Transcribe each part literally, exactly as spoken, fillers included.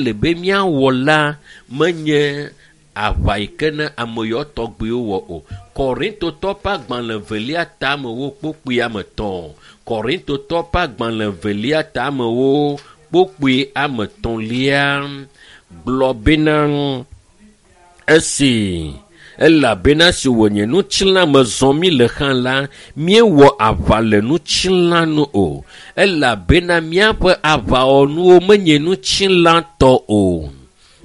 le be míawɔ la menye aʋa yi ke ne ame yawo tɔgbiwo wɔ o. Korintotɔ ƒe agbalẽ velia tamewo kpokpui ame etɔ̃. Korintotɔ ƒe agbalẽ velia tamewo kpokpui ame etɔ̃lia gblɔ bena esi elabena si wònye ŋutilã me zɔm mí le hã la, míewɔ aʋa le ŋutilã nu o. Elabena míaƒe aʋawɔnuwo menye ŋutilãtɔ o,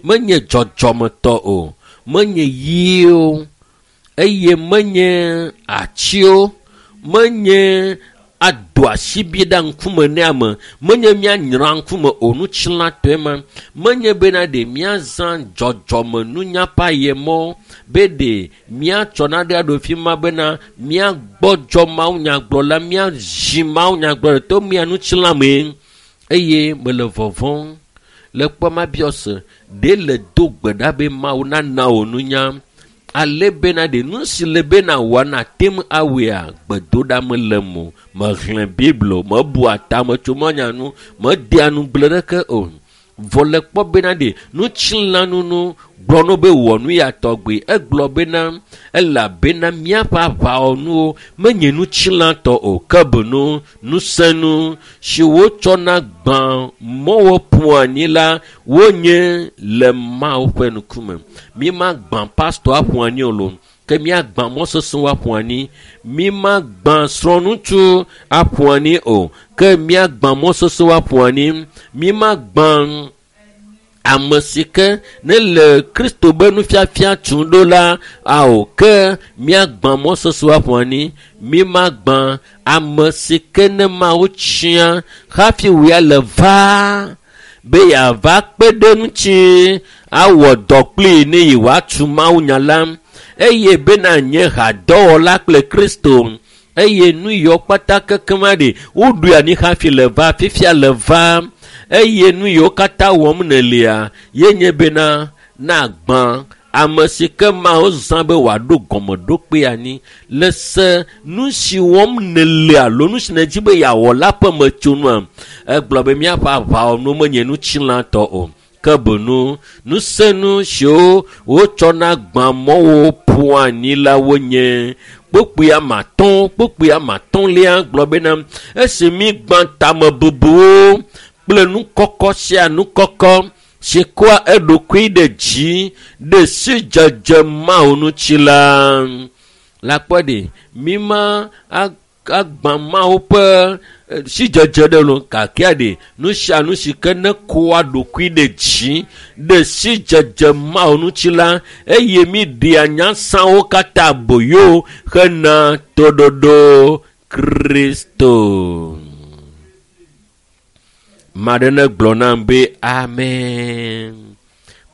menye dzɔdzɔmetɔ o, menye ɣiwo eye menye atiwo, menye ado asibi ɖe ŋkume ne ame, menye míanyra ŋkume o ŋutilãtɔe ma, menye bena ɖe míazã dzɔdzɔmenunya ƒe ayemɔ be ɖe míatsɔ nane aɖo fi ma bena míagbɔdzɔ mawunyagblɔla, míazi mawunyagblɔla to mía ŋutilã mee eye mele vɔvɔ̃m le kpɔ mabiɔ se ɖe le do gbe ɖa be Mawu nana wò nunya ale bena ɖe nu si le bena wòa nate ŋu awɔea gbedoɖa mele mo mexlẽ Biblia o mebua tame tso manya nu medea nugble ɖeke o vɔ le kpɔ bena ɖe ŋutilãnunu gblɔ no be wɔ nu ya tɔgbi egblɔ bena elabena míaƒe aʋawɔnuwo menye ŋutilãtɔ o ke boŋ ŋusẽnu si wotsɔna gbã mɔwo ƒua anyi la wonye le Mawu ƒe ŋkume. Mímagbã pastɔ aƒu anyi o loo ke míagbã mɔ sesẽwo aƒu anyi. Mímagbã srɔ̃ŋutsu aƒu anyi o ke míagbã mɔ sesẽwo aƒu anyi. Mímagbã ame si ke ne le Kristo be nufiafia tum ɖo la ao ke míagbã mɔ sesẽwo aƒu anyi. Mímagbã ame si ke ne Mawu tia hafi wòya le va be yeava kpe ɖe ŋuti awɔ dɔ kplii ne yewoatu mawunya la eye bena nye hadɔwɔla kple Kristo eye nu yiwo kpata kekem aɖi woɖoe anyi hafi le va fifia le va eye nu yiwo katã wɔm nèlia ye nye bena nagbã ame si ke Mawu zã be wòaɖo gɔmeɖokpe anyi le se nu si wɔm nèle alo nu si nèdi be yeawɔ la ƒe metsonua egblɔ be míaƒe aʋawɔnuwo menye ŋutilãtɔ o ke boŋ ŋusẽnu siwo wotsɔna gbã mɔwo ƒua anyi la wonye kpokpui ame atɔ̃ kpokpui ame atɔ̃lia gblɔ bena esi mígbã tamebubuwo kple nukɔkɔ sia nukɔkɔ si kɔa eɖokui ɖe dzi ɖe sidzedze Mawu ŋuti la la kpɔ ɖe míma agbã Mawu ƒe sidzedze ɖe lo gakea ɖe nu sia nu si ke ne kɔa ɖokui ɖe dzi ɖe sidzedze Mawu ŋuti la eye míɖea nyasãwo katã aboyo hena toɖoɖo Kristo. Ame aɖe ne gblɔ nam be amen.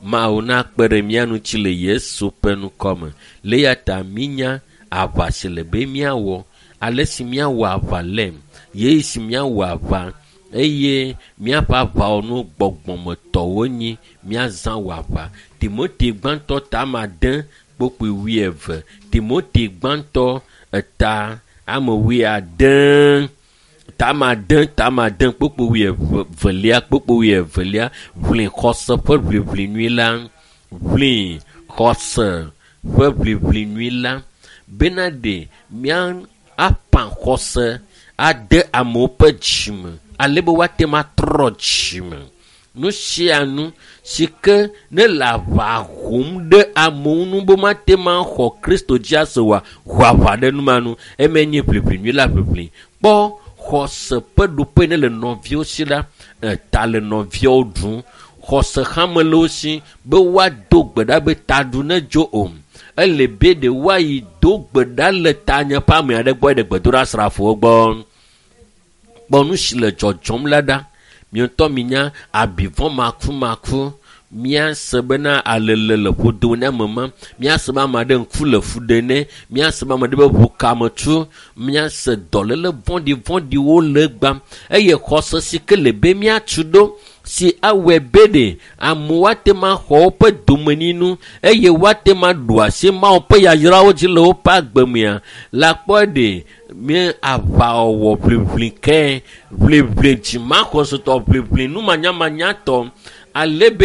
Mawu nakpe ɖe mía ŋuti le Yesu ƒe ŋkɔme. Le eya ta mínya aʋa si le be míawɔ, ale si míawɔ aʋa le, ɣeyiɣi si míawɔ aʋa eye míaƒe aʋawɔnu gbɔgbɔmetɔwo nyi míazã wɔ aʋa. Timote gbãtɔ ta ame ade kpokpui wuieve. Timote gbãtɔ eta ame wuiade ta ame ade ta ame ade kpokpui wuievelia kpokpui wuievelia ʋli xɔse ƒe ʋiʋli nyui la ʋli xɔse ƒe ʋiʋli nyui la bena ɖe mía aƒã xɔse ade amewo ƒe dzime ale be woate ŋu atrɔ dzime. Nu sia nu si ke ne le aʋa hom ɖe amewo ŋu be woate ŋu axɔ Kristo dzi ase oa, ho aʋa ɖe nu ma nu. Emae nye ʋiʋli nyui la ʋiʋli. Kpɔ xɔse ƒe ɖoƒe ne le nɔviwo si la, eta le nɔviawo ɖum. Xɔse hã mele wo si be woado gbe ɖa be taɖu nedzo o. Ele be ɖe woayi do gbe ɖa le tanye ƒe ame aɖe gbɔ ɖe gbedoɖasrafowo gbɔ. Kpɔ nu si le dzɔdzɔm la ɖa. Mia ŋutɔ minya abivɔ makumaku. Míase bena alele le ƒodo ne ame ma. Míase be ame aɖe ŋku le fu ɖe nɛ. Míase be ame aɖe be ʋukame tu. Míase dɔléle vɔ̃ɖivɔ̃ɖiwo le egbam eye xɔse si ke le be míatu ɖo si awɔe be ɖe amewo ate ŋu axɔ woƒe domenyinu eye woate ŋu aɖu asi Mawu ƒe yayrawo dzi le woƒe agbe mea la kpɔ ɖe mí aʋawɔwɔ ʋliʋli ke ʋliʋli dzimaxɔsetɔ ʋliʋli numanyamanyatɔ ale be